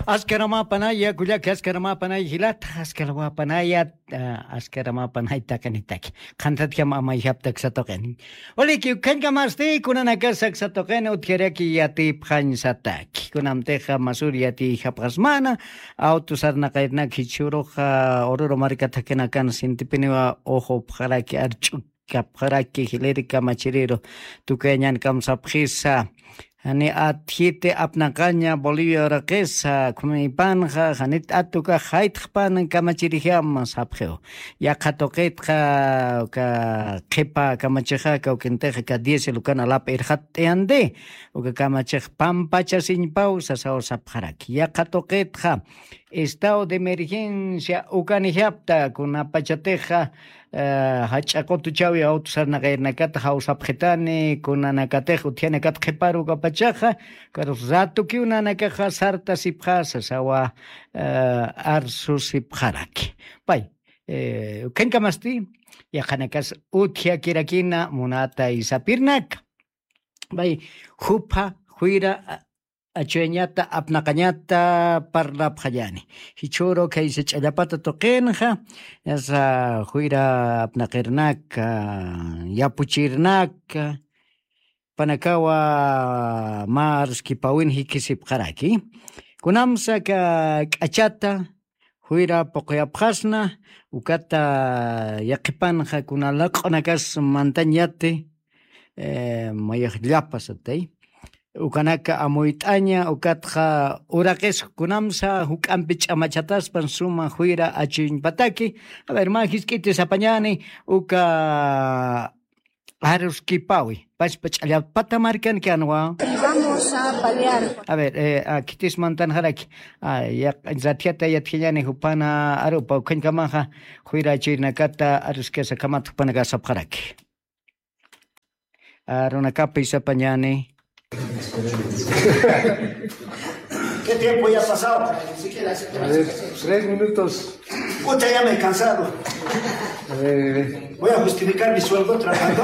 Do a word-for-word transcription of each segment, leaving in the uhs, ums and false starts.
Askaramäpanaya, kullaka, askaramäpanaya jilata, askaramäpanaya, ah, askaramäpanaya taqinitaki. Qhantatjam amayjapta aksatuqin. Waliki, ukhañkamasti, kunanakas aksatuqin, utjaraki yatipxañsataki. Kunamtixa masur yatiyjapxasmana, auto sarnaqayrnak jichhüruxa, Oruro marka thakinakan sintipiniwa uxupxaraki, arch'u kapxaraki, jiliri kamachiriru tukuyañan kamsapxisa. Jani atjiti apnaqaña Bolivia uraqisa, khumiypanxa, janit atuka jaytxpan kamachirixama sapxiw. Yaqha tuqitxa, ka qhipa kamachixa, kawkintixa, ka diez lukan alap irxat t'ayandi, uka kamachix pampachasiñpaw sasaw sapxaraki. Yaqha tuqitxa, estado de emergencia ukanijapta, kunapachatixa, eh, jach'a qutuchawi auto sarnaqayrnakata jawsapxitani, kunanakatix utjanakat qhiparu ukapachaxa, karus ratukiw nanakaxa sartasipxasa sawa, eh, arsusipxaraki. Pay, eh, ukhañkamasti, yaqhanakas utjakirakina munata isapirnaka. Pay, jupha, juyra, achuyañata, apnaqañata parlapxañani. Jichhüru khaysa ch'allapata tuqinxa, yasa juyra apnaqirnaka, yapuchirnaka, panakawa mä aruskipawin jikisipxaraki. Kunamsa ka k'achata, juyra puquyapxasna, ukata yaqhipanxa kuna laq'unakas mantañati, eh, mayax llapasatay. Ukanaka amuyt'aña, ukatxa uraqis kunamsa juk'ampi ch'amachataspan suma juyra achuñpataki. A ver, mä jisk'iti sapañani, uka aruskipawi, pachpa ch'allapata markankanwa. Vamos a paliar. A ver, eh, a, khitis mantanxaraki. A, ya, ratjata yatjañani jupana arupa, ukhañkamaxa, juyra achuynakata aruskasa kamata jupanaka sapxaraki. Arunakapi sapañani. ¿Qué tiempo ya ha pasado? A ver, tres minutos. Puta, ya me he cansado. A ver, a ver. Voy a justificar mi sueldo trabajando.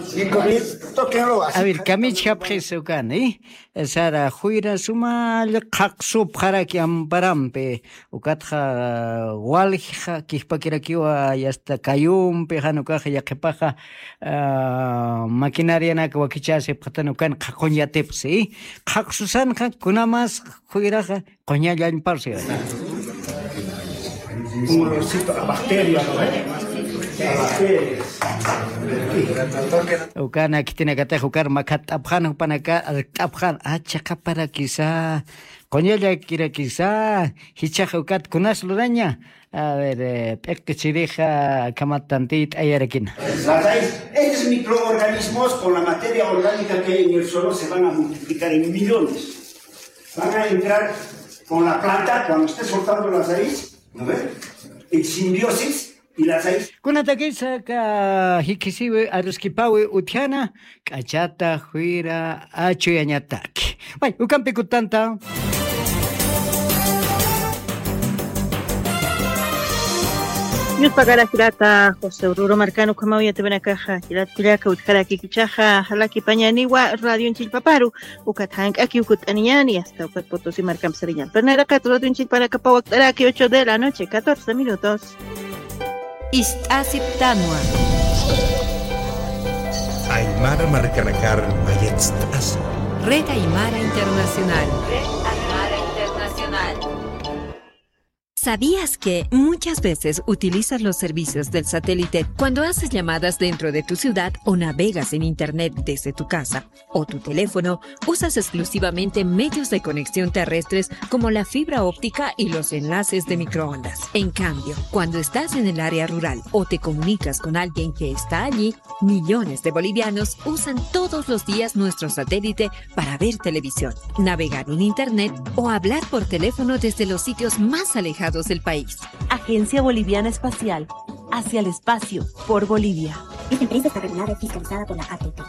Cinco mil. Tóquenlo así. A ver, kamichhapxis ukani. Sara juyra sumall qhaqsupxaraki amparampi, ukatxa walja kijpakirakiwa, yasta kayumpi, jan ukaxa yaqhipaxa, ah, maquinarianak wakichasipxatan ukan qhaquñ yatipxi. Qhaqsusanxa kunamas juyraxa quñallañpasi. Un olorcito a bacteria, ¿no ve? A bacterias. Ukana khitinakatix ukar makhatt'apxan, jupanaka arkt'apxan, a, chiqaparakisa, quñallakirakisa, jichhax ukat kunas luraña. A ver, eh, p'iqi chirixa, akhamat tantiyt'ayarakina. Las raíces, estos microorganismos con la materia orgánica que hay en el suelo se van a multiplicar en millones. Van a entrar con la planta, cuando esté soltando las raíces, ¿no ve? En simbiosis, y las raíces. Kunatakisa ka jikisiwi aruskipawi utjana, k'achata juyra achuyañataki. Pay, ukampi kutanta. Yuspagarajirata, José Oruro markan ukhamaw yatiwanakaxa, jilat kullaka utjarakikichaxa, jalakipañaniwa radion chillpaparu, ukat jank'aki ukut'aniñani, hasta ukat Potosí markampi sariñan. Pero nayraqat radion chillpanakapaw wakt'araki, ocho de la noche, catorce minutos. Ist'asiptanwa. Aymara markanakar mayatst'asi. Red Aymara Internacional. Red Aymara Internacional. ¿Sabías que muchas veces utilizas los servicios del satélite cuando haces llamadas dentro de tu ciudad o navegas en Internet desde tu casa o tu teléfono? Usas exclusivamente medios de conexión terrestres como la fibra óptica y los enlaces de microondas. En cambio, cuando estás en el área rural o te comunicas con alguien que está allí, millones de bolivianos usan todos los días nuestro satélite para ver televisión, navegar en Internet o hablar por teléfono desde los sitios más alejados del país. Agencia Boliviana Espacial, hacia el espacio, por Bolivia. Esta empresa está regulada y fiscalizada por la A T T.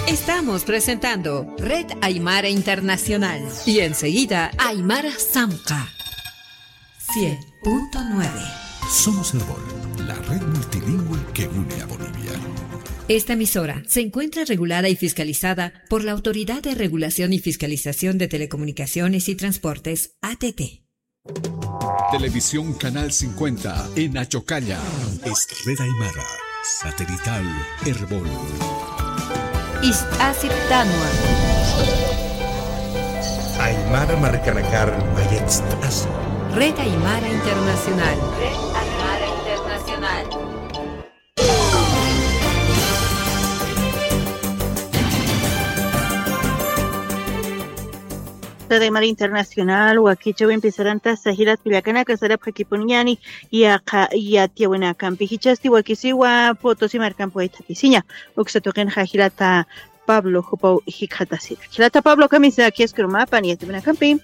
Estamos presentando Red Aymara Internacional y enseguida Aymara Samca. Cien punto nueve. Somos Erbol, la red multilingüe que une a Bolivia. Esta emisora se encuentra regulada y fiscalizada por la Autoridad de Regulación y Fiscalización de Telecomunicaciones y Transportes, A T T. Televisión Canal cincuenta en Achocalla. Es Red Aymara, satelital, Erbol. Ist'asiptanwa. Aymara markanakar mayatst'asi. Red Aymara Internacional. Red Aymara Internacional. Red Aymara Internacional, wakichäwimpi sarantasa jilat kullakanaka, sarapxakipuniñäni yaqha yatiyäwinakampi. Jichhasti wakisiwa Potosí markampi wayt'apisiña, uksa tuqinxa jilata Pablo jupaw jikxatasita. Jilata Pablo, kamisa, khisk'urmapan yatiyäwinakampi.